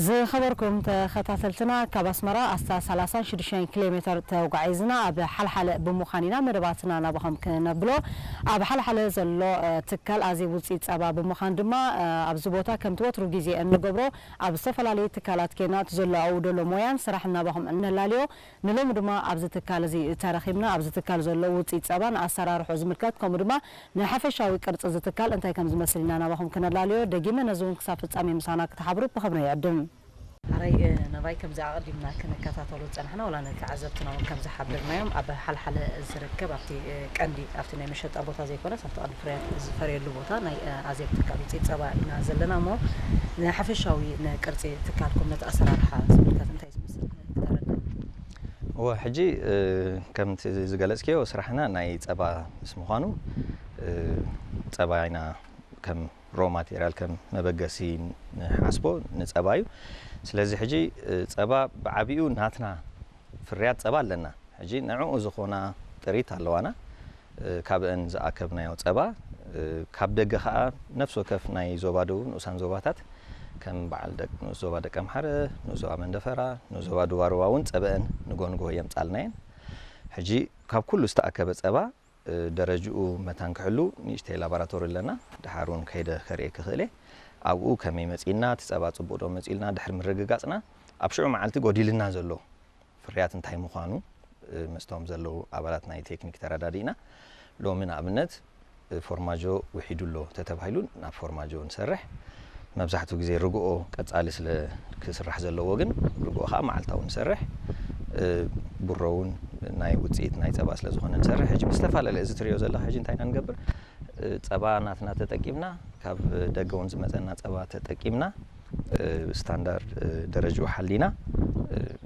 ዝኸበርኩም ተኸታተልትና፣ ካብ ኣስመራ ኣስታት ሰላሳን ሽዱሽተን ኪሎ ሜተር ተጓዒዝና ኣብ ሓልሓለ ብምዃን ኢና መደባትና ናባኹም ክነብሎ። ኣብ ሓልሓለ ዘሎ ትካል ኣዜብ ውፅኢት ፀባ ብምዃን ድማ ኣብዚ ቦታ ከምቲ ወትሩ ግዜ እንገብሮ ኣብ ዝተፈላለዩ ትካላት ኬና እቲ ዘሎ ኣብኡ ደሎ ሞያን ስራሕን ናባኹም እነላልዮ። ንሎሚ ድማ ኣብዚ ትካል እዚ ተረኺብና ኣብዚ ትካል ዘሎ ውፅኢት ፀባን ኣሰራርሑ ዝምልከት ከምኡ ድማ ንሓፈሻዊ ቅርፂ እዚ ትካል እንታይ ከም ዝመስል ኢና ናባኹም ክነላልዮ። ደጊመ ነዚ እውን ክሳብ ፍፃሜ ምሳና ክትሓብሩ ብኽብሪ ይዕድም። ኣራይ ነባይ ከምዚ ኣቐዲምና ክንከታተሉ ዝፀናሕና ዋላ ነተዓዘብትና እውን ከም ዝሓበርናዮም ኣብ ሓልሓለ ዝርከብ ኣብቲ ቀንዲ ኣብቲ ናይ መሸጣ ቦታ ዘይኮነስ ኣብቲ ቀንዲ ፍርያት ዝፈርየሉ ቦታ ናይ ኣዜብ ትካል ውፅኢት ፀባ ኢና ዘለና እሞ ንሓፈሻዊ ንቅርፂ ትካልኩም ነቲ ኣሰራርሓ ዝምልከት እንታይ ዝመስል ክተረድእ? እወ ሕጂ ከምቲ ዝገለፅክዮ ስራሕና ናይ ፀባ ምስ ምዃኑ ፀባ ኢና ከም ሮ ማቴሪያል ከም መበገሲ ንሓስቦ ንፀባ እዩ። ስለዚ ሕጂ ፀባ ብዓቢኡ ናትና ፍርያት ፀባ ኣለና። ሕጂ ንዕኡ ዝኾና ጥሪት ኣለዋና። ካብአን ዝኣከብናዮ ፀባ ካብ ደገ ከዓ ነፍሲ ወከፍ ናይ ዞባ ደቡብ ንኡሳን ዞባታት ከም በዓል ንኡስ ዞባ ደቀምሓረ፣ ንኡስ ዞባ መንደፈራ፣ ንኡስ ዞባ ዱባሩባ እውን ፀበአን ንጎንጎ የምፃልናየን። ሕጂ ካብ ኩሉ ዝተኣከበ ፀባ ደረጅኡ መታን ክሕሉ ንእሽተይ ላቦራቶሪ ኣለና። ድሓር እውን ከይደ ከርእየኪ ክእል እየ። ኣብኡ ከመይ መፂእና እቲ ፀባ ፅቡቅ ዶ መፂእልና ድሕሪ ምርግጋፅና ኣብ ሽዑ መዓልቲ ጎዲልና ዘሎ ፍርያት እንታይ ምዃኑ ምስቶም ዘለዉ ኣባላት ናይ ቴክኒክ ተረዳዲእና ሎሚ ንኣብነት ፎርማጆ ውሒዱ ኣሎ ተተባሂሉ ናብ ፎርማጆ ንሰርሕ። መብዛሕትኡ ግዜ ርግኦ ቀጻሊ ስለ ክስራሕ ዘለዎ ግን ርግኦ ከዓ መዓልታዊ ንሰርሕ። ቡሮ እውን ናይ ውፅኢት ናይ ፀባ ስለ ዝኾነ ንሰርሕ። ሕጂ ብዝተፈላለየ እዚ ትሪኦ ዘለኻ ሕጂ እንታይ ኢና ንገብር? ፀባ ናትና ተጠቂምና ካብ ደገ እውን ዝመፀና ፀባ ተጠቂምና ስታንዳርድ ደረጅኡ ሓሊና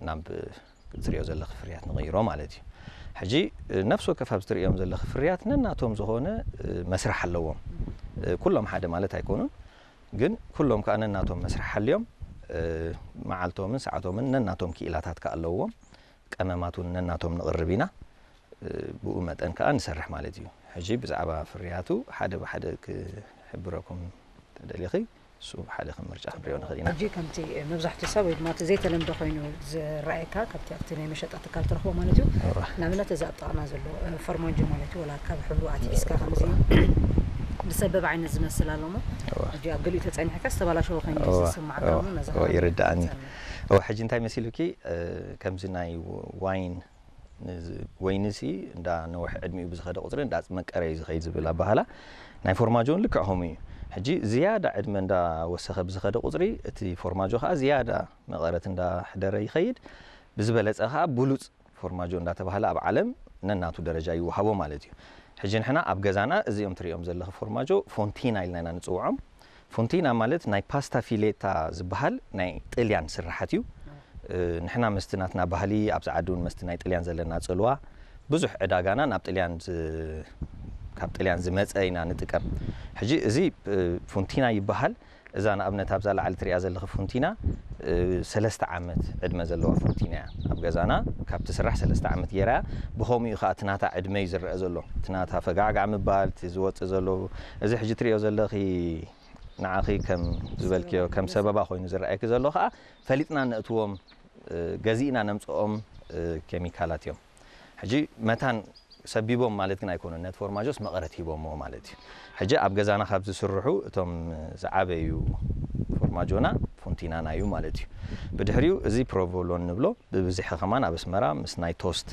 ናብ ትሪኦ ዘለኺ ፍርያት ንቕይሮ ማለት እዩ። ሕጂ ነፍሲ ወከፍ ኣብዚ ትሪኦም ዘለኺ ፍርያት ነናቶም ዝኾነ መስርሕ ኣለዎም። ኩሎም ሓደ ማለት ኣይኮኑን፣ ግን ኩሎም ከዓ ነናቶም መስርሕ ሓልዮም መዓልቶምን ሰዓቶምን ነናቶም ክኢላታት ከዓ ኣለዎም። ቀመማት እውን ነናቶም ንቕርብ ኢና። ብኡ መጠን ከዓ ንሰርሕ ማለት እዩ። ሕጂ ብዛዕባ ፍርያቱ ሓደ ብሓደ ክሕብረኩም ተደሊኺ እሱ ሓደ ከም ምርጫ ክንሪኦ ንኽእል ኢና። ሕጂ ከምቲ መብዛሕትኡ ሰብ ወይ ድማ እቲ ዘይተለምደ ኮይኑ ዝረኣየካ ካብቲ ኣብቲ ናይ መሸጣ ትካል ትረኽቦ ማለት እዩ። ንኣብነት እዚ ኣብ ጥቓና ዘሎ ፈርማንጆ ማለት እዩ፣ ወላ ካብ ሕብሩ ኣትሒዝካ ከምዚ ብሰበብ ዓይነት ዝመስል ኣሎ እሞ ሕጂ ኣብ ገሊኡ ተጸኒሕካ ዝተባላሸወ ኮይኑ እዩ ዝስምዓካ እሞ ነዚ ይርድኣኒ። እወ ሕጂ እንታይ መሲሉኪ ከምዚ ናይ ዋይን ወይንሲ እንዳ ነውሕ ዕድሚኡ ብዝኸደ ቁፅሪ እንዳ መቀረ እዩ ዝኸይድ ዝብል ኣባህላ ናይ ፎርማጆ እውን ልክዕ ከምኡ እዩ። ሕጂ ዝያዳ ዕድመ እንዳ ወሰኸ ብዝኸደ ቁፅሪ እቲ ፎርማጆ ከዓ ዝያዳ መቐረት እንዳ ሕደረ ይኸይድ። ብዝበለፀ ከዓ ብሉፅ ፎርማጆ እንዳተባህለ ኣብ ዓለም ነናቱ ደረጃ ይወሃቦ ማለት እዩ። ሕጂ ንሕና ኣብ ገዛና እዚኦም ትሪኦም ዘለኺ ፎርማጆ ፎንቲና ኢልና ኢና ንፅውዖም። ፎንቲና ማለት ናይ ፓስታ ፊሌታ ዝበሃል ናይ ጥልያን ስርሓት እዩ። ንሕና መስቲ ናትና ባህሊ ኣብዚ ዓዲ እውን መስቲ ናይ ጥልያን ዘለና ፅልዋ ብዙሕ ዕዳጋና ናብ ጥልያን ካብ ጥልያን ዝመፀ ኢና ንጥቀም። ሕጂ እዚ ፉንቲና ይበሃል። እዛ ንኣብነት ኣብዛ ላዕሊ ትሪኣ ዘለኺ ፉንቲና ሰለስተ ዓመት ዕድመ ዘለዋ ፉንቲና እያ። ኣብ ገዛና ካብ ትስራሕ ሰለስተ ዓመት ገይራ እያ። ብኸምኡ እዩ ከዓ እቲ ናታ ዕድመ እዩ ዝረአ ዘሎ። እቲ ናታ ፈጋዕጋዕ ምባል፣ እቲ ዝወፅእ ዘሎ እዚ ሕጂ ትሪኦ ዘለኺ ንዓኺ ከም ዝበልክዮ ከም ሰበባ ኮይኑ ዝረኣየኪ ዘሎ ከዓ ፈሊጥና ነእትዎም ገዚእና ነምፅኦም ኬሚካላት እዮም። ሕጂ መታን ሰቢቦም ማለት ግን ኣይኮኑን። ነቲ ፎርማጆስ መቐረት ሂቦሞ ማለት እዩ። ሕጂ ኣብ ገዛና ካብ ዝስርሑ እቶም ዝዓበዩ ፎርማጆና ፎንቲናና እዩ ማለት እዩ። ብድሕሪኡ እዚ ፕሮቮሎን ንብሎ ብብዝሒ ከማን ኣብ ኣስመራ ምስ ናይ ቶስት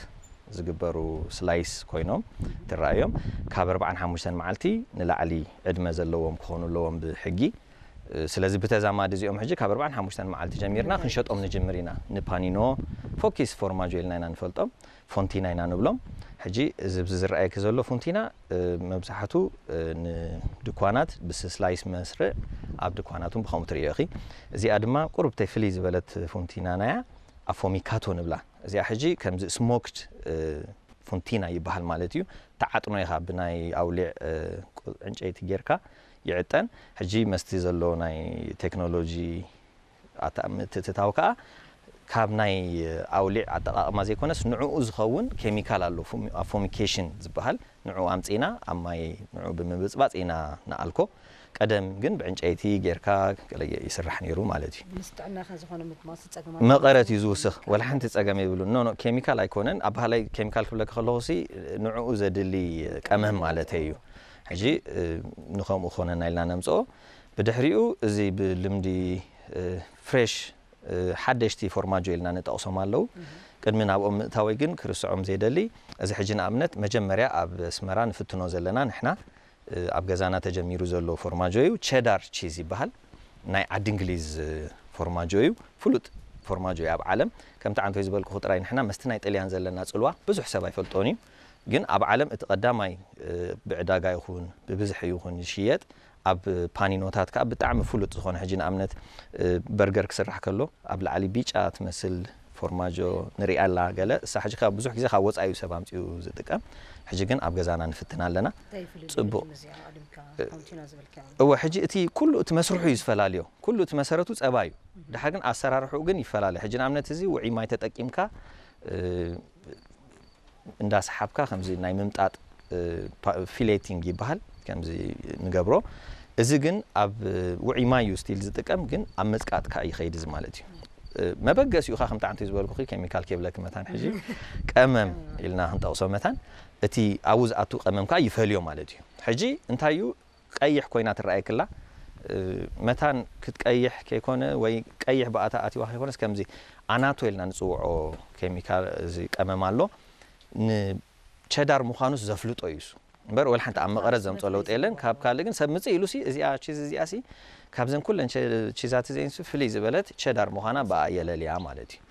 ዝግበሩ ስላይስ ኮይኖም ትረኣዮም ካብ ኣርባዓን ሓሙሽተን መዓልቲ ንላዕሊ ዕድመ ዘለዎም ክኾኑ ኣለዎም ብሕጊ። ስለዚ ብተዛማዲ እዚኦም ሕጂ ካብ ኣርባዓን ሓሙሽተን መዓልቲ ጀሚርና ክንሸጦም ንጅምር ኢና። ንፓኒኖ ፎኪስ ፎርማጆ ኢልና ኢና ንፈልጦም፣ ፎንቲና ኢና ንብሎም። ሕጂ እዚ ኣብዚ ዝረኣየኪ ዘሎ ፎንቲና መብዛሕቱ ንድኳናት ብስላይስ መስርዕ ኣብ ድኳናት እውን ብኸምኡ ትርእዮ ኢኺ። እዚኣ ድማ ቁሩብ ተይ ፍልይ ዝበለት ፎንቲናና እያ፣ ኣፎሚካቶ ንብላ። እዚኣ ሕጂ ከምዚ ስሞክድ ፉንቲና ይበሃል ማለት እዩ። ትዓጥኖ ኢኻ ብናይ ኣውሊዕ ዕንጨይቲ ጌርካ ይዕጠን። ሕጂ መስቲ ዘሎ ናይ ቴክኖሎጂ ኣታ ምትእትታው ከኣ ካብ ናይ ኣውሊዕ ኣጠቓቕማ ዘይኮነስ ንዕኡ ዝኸውን ኬሚካል ኣሎ፣ ኣፎሚኬሽን ዝበሃል። ንዕኡ ኣምጺእና ኣብ ማይ ንዕኡ ብምብጽባጽ ኢና ንኣልኮ። ቀደም ግን ብዕንጨይቲ ጌርካ ገለ ይስራሕ ነይሩ ማለት እዩ። ምስ ጥዕናኻ ዝኾነ ምጥማስ ጸገማት መቐረት እዩ ዝውስኽ። ወላ ሓንቲ ጸገም የብሉን። ኖ ኖ፣ ኬሚካል ኣይኮነን። ኣብ ባህላይ ኬሚካል ክብለካ ከለኹ ሲ ንዕኡ ዘድሊ ቀመም ማለተይ እዩ። ሕጂ እ፣ ንኸምኡ ክኾነና ኢልና ነምጽኦ። ብድሕሪኡ እዚ ብልምዲ እ፣ ፍሬሽ እ፣ ሓደሽቲ ፎርማጆ ኢልና ንጠቕሶም ኣለዉ። ቅድሚ ናብኦም ምእታወይ ግን ክርስዖም ዘይደሊ፣ እዚ ሕጂ ንኣብነት መጀመርያ ኣብ ኣስመራ ንፍትኖ ዘለና ንሕና እ፣ ኣብ ገዛና ተጀሚሩ ዘሎ ፎርማጆ እዩ። ቸዳር ቺዝ ይበሃል። ናይ ዓዲ እንግሊዝ እ፣ ፎርማጆ እዩ። ፍሉጥ ፎርማጆ እዩ ኣብ ዓለም። ከምቲ ዓንቶይ ዝበልኩኹ ጥራይ ንሕና መስቲ ናይ ጥልያን ዘለና ጽልዋ ብዙሕ ሰብ ኣይፈልጦን እዩ። ግን ኣብ ዓለም እቲ ቀዳማይ እ፣ ብዕዳጋ ይኹን ብብዝሒ ይኹን ዝሽየጥ ኣብ ፓኒኖታት ከዓ ብጣዕሚ ፍሉጥ ዝኾነ ሕጂ ንኣብነት እ፣ በርገር ክስራሕ ከሎ ኣብ ላዕሊ ቢጫ ትመስል ፎርማጆ ንሪኣ ኣላ ገለ እሳ ሕጂ ካብ ብዙሕ ግዜ ካብ ወፃኢ እዩ ሰብ ኣምፅኡ ዝጥቀም። ሕጂ ግን ኣብ ገዛና ንፍትና ኣለና። እንታይ ይፍልጥ ጽቡቕ። እዚኣ ኣድምካ ኮንቲና ዝበልካ እወ ሕጂ እቲ ኩሉ እቲ መስርሑ እዩ ዝፈላለዮ። ኩሉ እቲ መሰረቱ ፀባ እዩ። ድሓር ግን ኣሰራርሕኡ ግን ይፈላለ። ሕጂ ንኣብነት እዚ ውዒ ማይ ተጠቂምካ እ፣ እንዳሰሓብካ ከምዚ ናይ ምምጣጥ እ፣ ፓ- ፊሌቲንግ ይበሃል። ከምዚ ንገብሮ። እዚ ግን ኣብ እ፣ ውዒ ማይ እዩ ስቲል ዝጥቀም፣ ግን ኣብ ምጽቃጥ ከዓ ይኸይድ እዚ ማለት እዩ። እ፣ መበገሲኡ ከዓ ከምቲ ዓንቱ ዝበልኩ ኬሚካል ከይብለክ መታን ሕጂ ቀመም ኢልና ክንጠቕሶ መታን እቲ ኣብኡ ዝኣቱ ቀመም ከዓ ይፈልዮ ማለት እዩ። ሕጂ እንታይ እዩ ቀይሕ ኮይና ትረኣየክላ እ፣ መታን ክትቀይሕ ከይኮነ ወይ ቀይሕ ብኣታ ኣቲዋ ከይኮነስ ከምዚ ኣናቶ ኢልና ንፅውዖ ኬሚካል እዚ ቀመም ኣሎ። ንቸዳር ምዃኑስ ዘፍልጦ እዩ እሱ እምበር ወላ ሓንቲ ኣብ መቐረት ዘምፅኦ ለውጢ የለን። ካብ ካልእ ግን ሰብ ምፅእ ኢሉ ሲ እዚኣ ቺዝ እዚኣ ሲ ካብዘን ኩለን ቸ- ቺዛት እዚአን ሲ ፍልይ ዝበለት ቸዳር ምዃና ብኣ የለልያ ማለት እዩ።